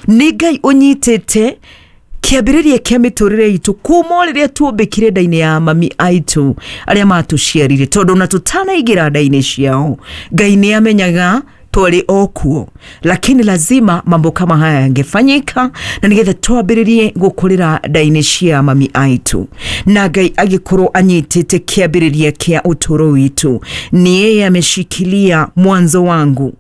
Nĩ Ngai ũnyitĩte kĩambĩrĩria kĩa mĩtũrĩre itũ kuma rĩrĩa tuombĩkire nda-inĩ ya mami aitũ arĩa matũciarire, tondũ ona tũtanaingĩra nda-inĩ ciao Ngai nĩ amenyaga twarĩ o kuo, lakini lazima mambo kama haya yangefanyika na nigetha twambĩrĩrie gũkũrĩra nda-inĩ cia mami aitũ, na Ngai agĩkorwo anyitĩte kĩambĩrĩria kĩa ũtũũro witũ. Ni yeye ameshikilia mwanzo wangu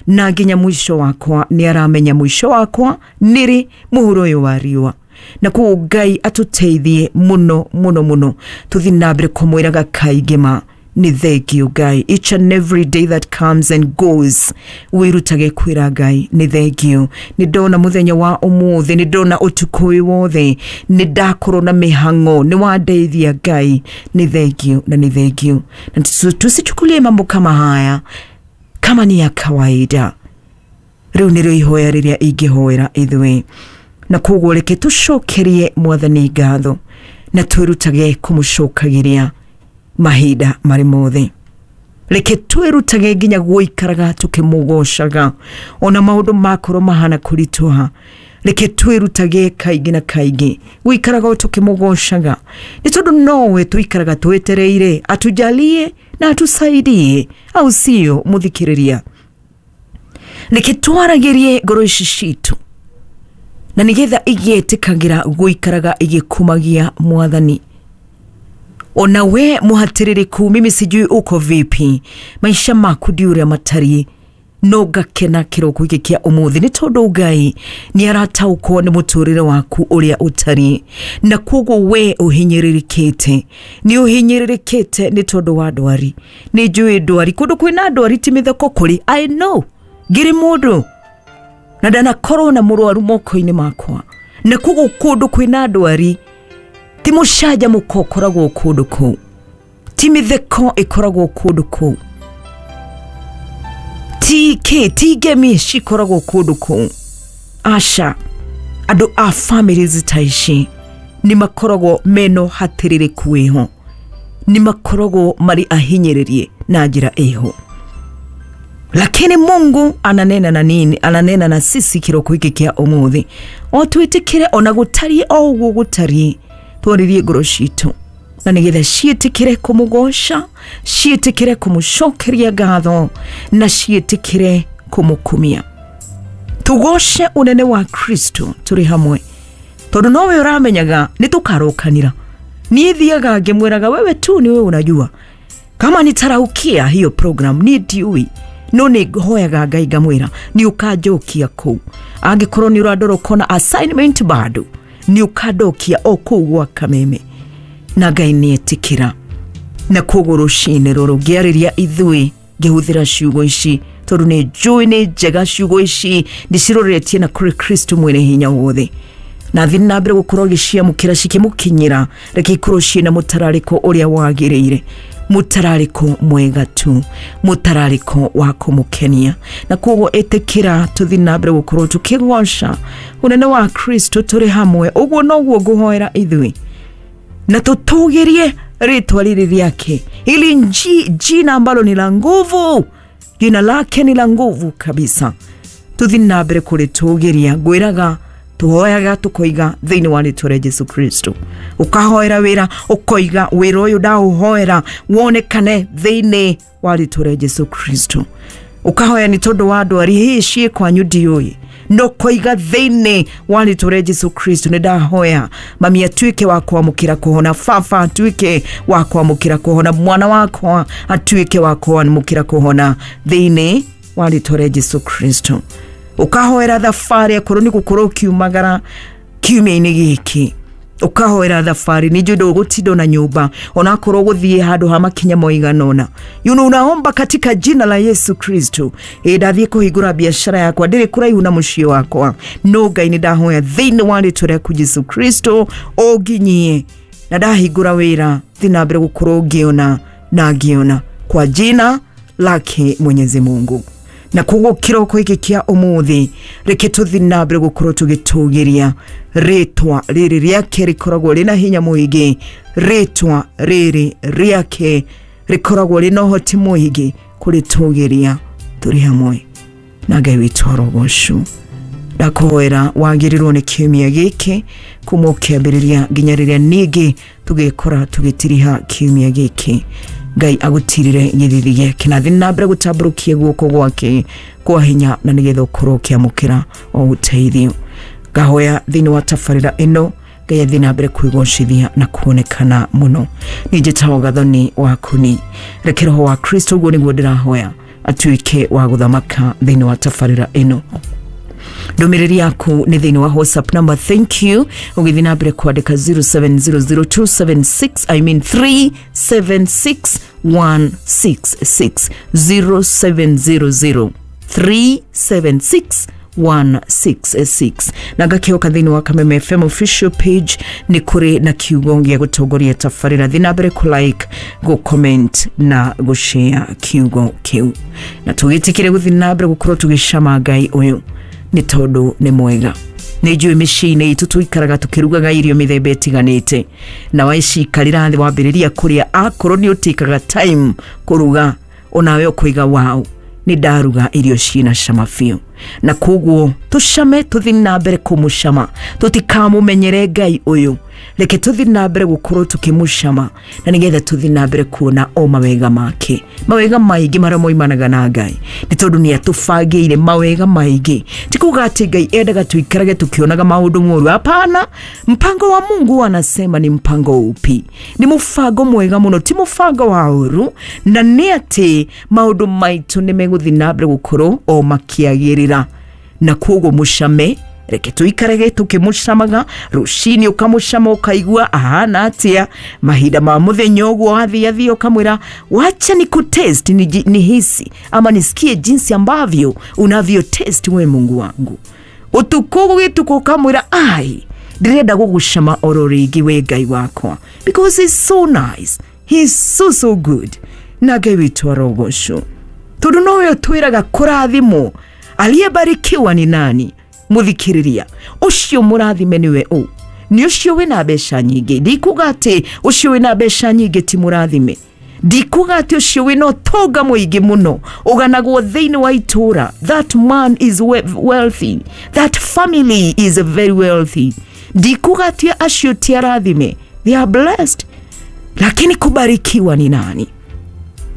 na nginya mwisho wakwa, nĩ aramenya mwisho wakwa nĩrĩ mũhuro ũyũ wa riũa. Na koguo Ngai atũteithie mũno mũno mũno, tũthiĩ na mbere kũmwĩraga kaingĩ ma nĩ thank you Ngai. Each and every day that comes and goes, wĩrutage kwĩra Ngai nĩ thank you. Nĩ ndona mũthenya wa ũmũthĩ, nĩ ndona ũtukũ ũyũ wothe, nĩ ndakorwo na mĩhang'o, nĩ wandeithia Ngai, nĩ thank you na nĩ thank you. Na tusichukulie mambo kama haya kama ni ya kawaida. Rĩu nĩrĩo ihoya rĩrĩa ingĩhoera ithuĩ, na koguo reke tũcokerie Mwathani ngatho na twĩrutage kũmũcokagĩria mahinda marĩ mothe. Reke twĩrutage nginya gũikaraga tũkĩmũgocaga ona maũndũ makorwo mahana kũritũha. Reke twĩrutage kaingĩ na kaingĩ gũikaraga o tũkĩmũgocaga, nĩ tondũ nowe tũikaraga twetereire atujalie na atusaidie, au sio mũthikĩrĩria? Reke twaragĩrie ngoro ici citũ na nĩgetha igĩtĩkagĩra gũikaraga igĩkumagia Mwathani. Ona we mũhatĩrĩrĩku, mimi sijui uko vipi, maisha maku ndi ũrĩa matariĩ, no ngakena kĩroko gĩkĩ kĩa ũmũthĩ nĩ tondũ Ngai nĩ arataũkwo nĩ mũtũrĩre waku ũrĩa ũtariĩ, na koguo we ũhinyĩrĩrĩkĩte, nĩ ũhinyĩrĩrĩkĩte nĩ tondũ wa ndwari. Nĩ njũĩ ndwari, kũndũ kwĩna ndwari ti mĩtheko kũrĩ, I know, ngĩrĩ mũndũ na ndanakorwo na mũrwaru moko-inĩ makwa, na koguo kũndũ kwĩna ndwari ti mũcanjamũko ũkoragwo kũndũ kũu, ti mĩtheko ĩkoragwo kũndũ kũu, ti kĩ, ti ngemi cikoragwo kũndũ kũu. Aca, andũ a families ta ici nĩ makoragwo mena ũhatĩrĩrĩku wĩho, nĩ makoragwo marĩ ahinyĩrĩrie na njĩra ĩho. Lakini Mungu ananena na nini? Ananena na sisi kiroko hiki kia ũmũthĩ, o twĩtĩkĩre ona gũtariĩ o ũguo gũtariĩ, twaririe ngoro citũ na nĩgetha ciĩtĩkĩre kũmũgoca, ciĩtĩkĩre kũmũcokeria ngatho na ciĩtĩkĩre kũmũkumia. Tũgoce ũnene wa Kristo tũrĩ hamwe, tondũ nowe ũramenyaga nĩ tũkarokanĩra. Niĩ thiaga ngĩmwĩraga wewe tu niwe unajua kama nitaraukia hiyo program, niĩ ndiũĩ, no nĩ hoyaga Ngai ngamwĩra nĩ ũkanjokia kũu. Angĩkorwo nĩ ũrandora ũkona assignment bado, nĩ ũkandokia o kũu gwa Kameme, na Ngai nĩ etĩkĩra. Na koguo rũcinĩ rũrũ ngĩarĩria ithuĩ ngĩhũthĩra ciugo ici, tondũ nĩ njũĩ nĩ njega ciugo ici, ndĩciroretie na kũrĩ Kristo mwene hinya wothe, na thiĩ na mbere gũkorwo agĩciamũkĩra cikĩmũkinyĩra. Reke ikorwo ciĩna mũtararĩko ũrĩa wagĩrĩire, mũtararĩko mwega tu, mũtararĩko wa kũmũkenia. Na koguo ĩtĩkĩra tũthiĩ na mbere gũkorwo tũkĩgoca ũnene wa Kristo tũrĩ hamwe. Ũguo noguo ngũhoera ithuĩ, na tũtũgĩrie rĩtwa rĩrĩ rĩake, ili jina ambalo ni la nguvu, jina lake ni la nguvu kabisa. Tũthiĩ na mbere kũrĩtũgĩria. Ngwĩraga tũhoyaga tũkoiga thĩinĩ wa rĩtwa rĩa Jesu Kristo. Ũkahoera wĩra ũkoiga wĩra ũyũ ndaũhoera wonekane thĩinĩ wa rĩtwa rĩa Jesu Kristo. Ũkahoya nĩ tondũ wa ndwari hihi ciĩ kwanyu ndiũĩ, no koiga thĩinĩ wa rĩtwa rĩa Jesu Kristo nĩ ndahoya mami atuĩke wa kwamũkĩra kũhona, baba atuĩke wa kwamũkĩra kũhona, mwana wakwa atuĩke wa kwamũkĩra kũhona thĩinĩ wa rĩtwa rĩa Jesu Kristo. Ũkahoera thabarĩ akorwo nĩ gũkorwo ũkiumagara kiumia-inĩ gĩkĩ, ũkahoera thabarĩ, nĩ njũĩ ndũgũtinda na nyũmba onakorwo gũthiĩ handũ ha makinya moigana ũna. You know, unaomba katika jina la Yesu Kristo. Ndathiĩ kũhingũra biashara yakwa, ndĩrĩ kũraihu na mũciĩ wakwa, no Ngai nĩ ndahoya thĩinĩ wa rĩtwa rĩaku Jesu Kristo ũnginyie, na ndahingũra wĩra thiĩ na mbere gũkorwo ngĩona na ngĩona kwa jina lake Mwenyezi Mungu. Na koguo kĩroko gĩkĩ kĩa ũmũthĩ reke tũthiĩ na mbere gũkorwo tũgĩtũgĩria rĩtwa rĩrĩ rĩake rĩkoragwo rĩna hinya mũingĩ, rĩtwa rĩrĩ rĩake rĩkoragwo rĩna ũhoti mũingĩ kũrĩtũgĩria tũrĩ hamwe. Na Ngai witũ arogocwo. Ndakuhoera wagĩrĩrwo nĩ kiumia gĩkĩ kuma ũkĩambĩrĩria nginya rĩrĩa ningĩ tũgĩkora tũgĩtiriha kiumia gĩkĩ. Ngai agũtirire gĩthithi gĩake na thiĩ na mbere gũtambũrũkia guoko gwake kwa hinya na nĩgetha ũkorwo ũkĩamũkĩra o ũteithio. Ngahoya thĩinĩ wa tabarĩra ĩno Ngai athiĩ na mbere kwĩgocithia na kuonekana mũno. Niĩ njĩtagwo Gathoni wa Kuni. Reke roho wa Kristo ũguo nĩguo ndĩrahoya atuĩke wa gũthamaka thĩinĩ wa tabarĩra ĩno. Ndũmĩrĩri yaku nĩ thĩinĩ wa WhatsApp number, thank you, ũgĩthiĩ na mbere kwandĩka 0700276 I mean 376166 0700 376 166. Na ngakĩhoka thĩinĩ wa Kameme FM official page nĩ kũrĩ na kiugo gĩa gũtongoria tabarĩra. Thiĩ na mbere kũ like, gũ comment na gũ share kiugo kĩu, na tũgĩtĩkĩre gũthiĩ na mbere gũkorwo tũgĩcama Ngai ũyũ nĩ tondũ nĩ mwega. Nĩ njũĩ mĩciĩ-inĩ itũ tũikaraga tũkĩrugaga irio mĩthemba ĩtiganĩte, na waicikarĩra thĩ wambĩrĩria kũrĩa, akorwo nĩ ũtĩkaga time kũruga onawe ũkũiga wow, nĩ ndaruga irio ciĩna cama biũ. Na koguo tũcame, tũthiĩ na mbere kũmũcama, tũtikamũmenyere Ngai ũyũ. Reke tũthiĩ na mbere gũkorwo tũkĩmũcama na nĩgetha tũthiĩ na mbere kuona o mawega make, mawega maingĩ marĩa moimanaga na Ngai, nĩ tondũ nĩ atũbangĩire mawega maingĩ. Ti kuga atĩ Ngai endaga tũikarage tũkĩonaga maũndũ moru, hapana. Mpango wa Mungu anasema ni mpango upi? Ni mũbango mwega mũno, ti mũbango wa ũru, na nĩ atĩ maũndũ maitũ nĩ megũthiĩ na mbere gũkorwo o makĩagĩrĩra. Na koguo mũcame, reke tũikarage tũkĩmũcamaga. Rũcinĩ ũkamũcama ũkaigua ahana atĩa, mahinda ma mũthenya ũguo wathiathia ũkamwĩra wacha ni kutest nihisi ama nisikie jinsi ambavyo unavyo test we Mungu wangu. Ũtukũ gũgĩtukũ ũkamwĩra ai, ndĩrenda gũgũcama oro rĩngĩ we Ngai wakwa, because he's so nice, he's so so good. Na Ngai witũ arogocwo, tondũ nowe ũtwĩraga kũrathimwo. Aliyebarikiwa ni nani? Mũthikĩrĩria ũcio mũrathime nĩwe ũ? Nĩ ũcio wĩna mbeca nyingĩ. Ndikuga atĩ ũcio wĩna mbeca nyingĩ ti mũrathime, ndikuga atĩ ũcio wĩna ũtonga mũingĩ mũno ũganagwo thĩinĩ wa itũra, that man is wealthy, that family is very wealthy. Ndikuga atĩ acio ti arathime, they are blessed. Lakini kubarikiwa ni nani?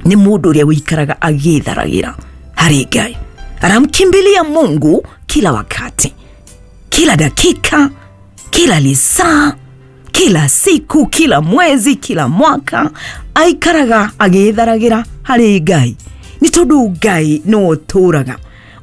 Nĩ mũndũ ũrĩa ũikaraga agĩtharagĩra harĩ Ngai, anamkimbilia Mungu kila wakati, kila dakika, kila lisaa, kila siku, kila mwezi, kila mwaka, aikaraga agĩtharagĩra harĩ Ngai, nĩ tondũ Ngai nĩwe ũtũraga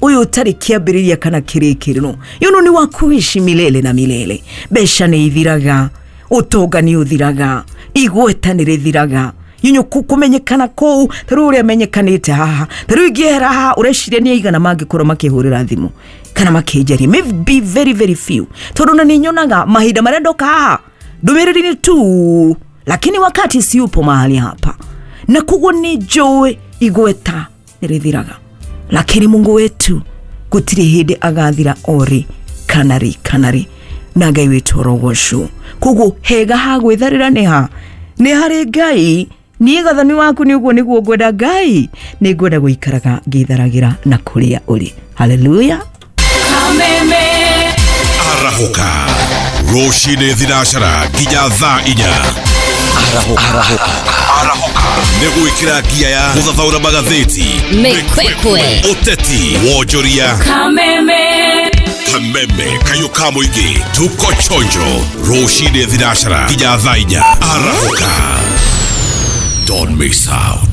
ũyũ ũtarĩ kĩambĩrĩria kana kĩrĩkĩrĩro. Yuno nĩ wa kuishi milele na milele. Mbeca nĩ ithiraga, ũtonga nĩ ũthiraga, igweta nĩ rĩthiraga, yunyu kũmenyekana kũu ta rĩu ũrĩa menyekanĩte haha, ta rĩu ingĩehera haha ũreciria nĩ aigana mangĩkorwo makĩhũrĩra thimũ kana makĩnjaria, maybe very very few, tondũ na nĩ nyonaga mahinda marĩa ndoka haha ndũmĩrĩri nĩ tu, lakini wakati siupo mahali hapa, na koguo nĩ njũĩ igweta nĩ rĩthiraga, lakini Mungu wetu gũtirĩ hĩndĩ agathira orĩ kana rĩ kana rĩ, na Ngai witũ arogocwo. Koguo hega ha gwĩtharĩra nĩ ha? Nĩ harĩ Ngai. Niĩ Gathoni waku nĩ ũguo nĩguo ngwenda Ngai, nĩ ngwenda gũikaraga ngĩtharagĩra na kũrĩa ũrĩ. Haleluya. Kameme. Arahũka rũcinĩ thinacara nginya thaa 4. Arahũka nĩ gwĩkĩra ngia ya gũthathaũra magathĩti, Mĩkwekwe, ũteti, wonjoria. Kameme. Kameme kayũ ka mũingĩ, tuko chonjo rũcinĩ thinacara nginya thaa 4. Arahũka, don't miss out.